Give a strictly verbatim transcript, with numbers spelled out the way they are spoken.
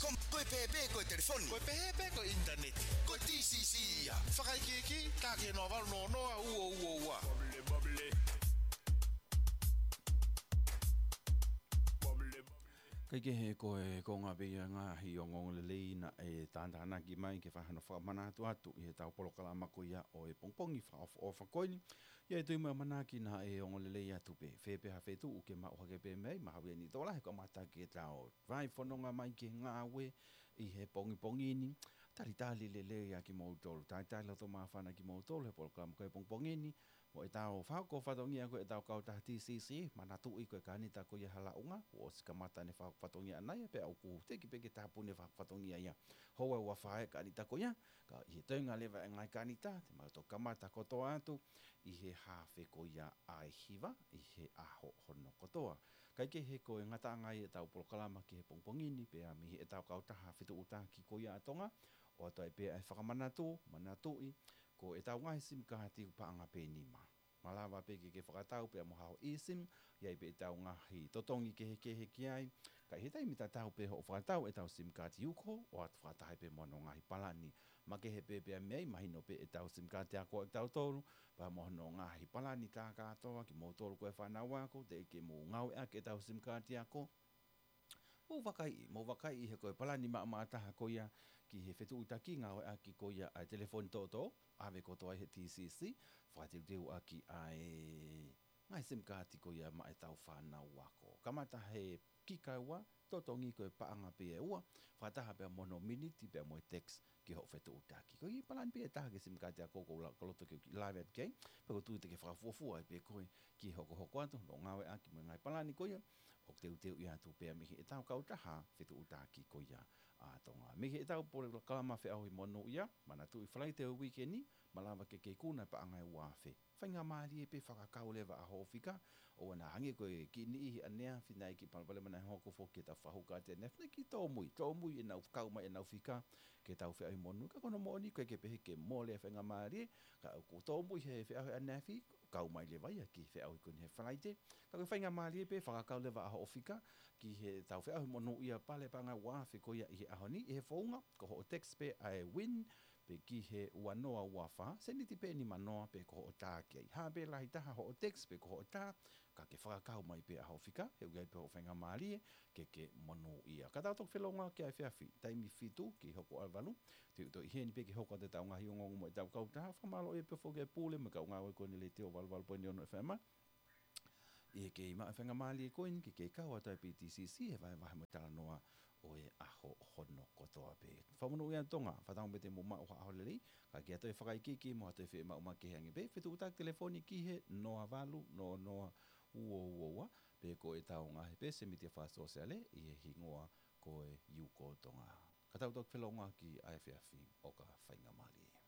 Ko e pehē pē ko e telefoni. Ko e pehē pē ko e ʻinitaneti. Ko e T C C ia. Fakaikiiki, tā ki he noa valu noa noa ua ua ua. Kae kehe, ko e konga pē ia e ngaahi ongoongolelei naʻe tātānaki mai ke fai hano fakamanatu atu ʻi heʻetau polokalama ko ia ʻo e pongipongi fakaʻofoʻofa ko eni. ʻA ia ʻe tui mai ʻamanaki naʻe ongoongolelei atu pē, fē pē ha fetuʻu ke maʻu hake pē mei ai, mahalo ʻe niʻihi tokolahi kuo kamata ke tau vahefononga mai ki he ngāue ʻi he pongipongi ni. Talitali lelei ā kimoutolu, talitali loto māfana kimoutolu he polokalama ko e pongipongi ni, mo ʻetau fakahoko fatongia ko ʻetau kautaha T C C, manatuʻi ko e kānita ko ia Halaʻunga, kuo ʻosi kamata ʻene fakahoko fatongia ʻana ia, pea ʻoku teʻeki pē ke tāpuni e fakahoko fatongia ia. Houa ʻe ua fā e kānita ko ia, ka ʻi he toenga leva e ngaahi kānita, te mau toki kamata kotoa atu ʻi he haafe ko ia ʻa e hiva ʻi he ʻaho hono kotoa. Kae kehe, ko e ngataʻanga ia ʻetau polokalama ki he pongipongi ni, pea mei heʻetau kautaha fetuʻutaki ko ia ʻa Tonga, ʻoatu ai pē ʻa e fakamanatu, manatuʻi, ko ʻetau ngaahi simikaati ʻoku paʻanga pē nima. Malava pē ke ke fakatau pea mo haʻo eSIM, ʻi ai pē ʻetau ngaahi totongi kehekehe ki ai, ka ʻi he taimi tatau pē hoʻo fakatau ʻetau simikaati uko, ʻoatu fakataha pē mo hono ngaahi palani makehe pē pea mei ai. Mahino pē ʻetau simikaati ako ʻa kitautolu, pea mo hono ngaahi palani tā kātoa kimoutolu ko e fānau ako, teʻeki ke mou ngāueʻaki ʻetau simikaati ako, mou vakaiʻi, mou vakaiʻi he ko e palani maʻamaʻa taha ko ia ki he fetuʻutaki ngāueʻaki ko ia ʻa e telefoni toʻotoʻo, ʻave kotoa ʻi he T C C, fakateuteuʻaki ʻa e ngaahi simikaati ko ia maʻa ʻetau fānau ako. Kamata he kika ʻe ua, totongi ko e paʻanga pē ʻe ua, fakataha pea mo hono miniti pea mo e text ki hoʻo fetuʻutaki. Ko e palani pē ʻe taha ki he simikaati ako ʻoku ou la-, ʻoku ou loto ke u kiʻi lave atu ki ai, pea ʻoku ou tui te ke fakafuofua ai pē koe ki he hokohoko atu hono ngāueʻaki mo e ngaahi palani ko ia ʻoku teuteuʻi atu pea mei heʻetau kautaha fetuʻutaki ko ia ʻa Tonga. Mei heʻetau polokalama Feʻauhi Monūʻia, manatuʻi Falaite ʻo e uike ni, malava ke ke ikuna e paʻanga ʻe ua afe. Faingamālie pē fakakau leva ʻa hoʻo fika, ʻoua naʻa hangē ko e kiʻi niʻihi ʻaneafi naʻe kiʻi palopalema naʻe hoko foki ki heʻetau fakahoko atu ʻaneafi, naʻe kiʻi tōmui, tōmui ʻenau kau mai ʻenau fika ki heʻetau Feʻauhi Monū, ka ko hono moʻoni ʻoku ʻikai ke pehē ke mole e faingamālie, ka ʻoku tōmui he feʻauhi ʻaneafi, kau mai leva ia ki he feʻauhi ko eni he Falaite. Ka ko e faingamālie pē fakakau leva ʻa hoʻo fika ki heʻetau Feʻauhi Monūʻia, pale paʻanga ʻe ua afe ko ia ʻi he ʻaho ni, ʻi he founga, ko hoʻo text pē ʻa e win, pē ki he ua noa ua fā, sēniti pē ʻe nima noa pē ko hoʻo tā ki ai. Hā pē lahi taha hoʻo text pe ko hoʻo tā, ka ke fakakau mai pē ʻa hoʻo fika, he ʻoku ʻi ai pē hoʻo faingamālie ke ke monūʻia. Ka tau toki felōngoaki ʻa e efiafi, taimi fitu ki he hoko ʻa e valu, te u toe ʻi heni pē ke hoko atu ʻetau ngaahi ongoongo mo ʻetau kautaha, fakamālō ʻi he pē foki e pule mo e kau ngāue ko eni ʻa e Letiō valu valu poini ono F M. ʻI he kei maʻu e faingamālie ko eni ke kei kau atu ai pē ʻi he T C C he vahevahe mo e talanoa ʻo e ʻaho hono kotoa pē. Fakamonūʻia ʻa Tonga, fakatauange pē te mou maʻu ha ʻaho lelei, ka ke ʻoatu e fakaikiiki mo ha toe fiemaʻu makehe ange pē, fetuʻutaki telefoni ki he noa valu noa noa ua ua ua, pe ko ʻetau ngaahi pēsi mītia fakasōsiale ʻi he hingoa ko e Yuko Tonga. Ka tau toki felōngoaki ʻa e efiafi ʻo ka faingamālie.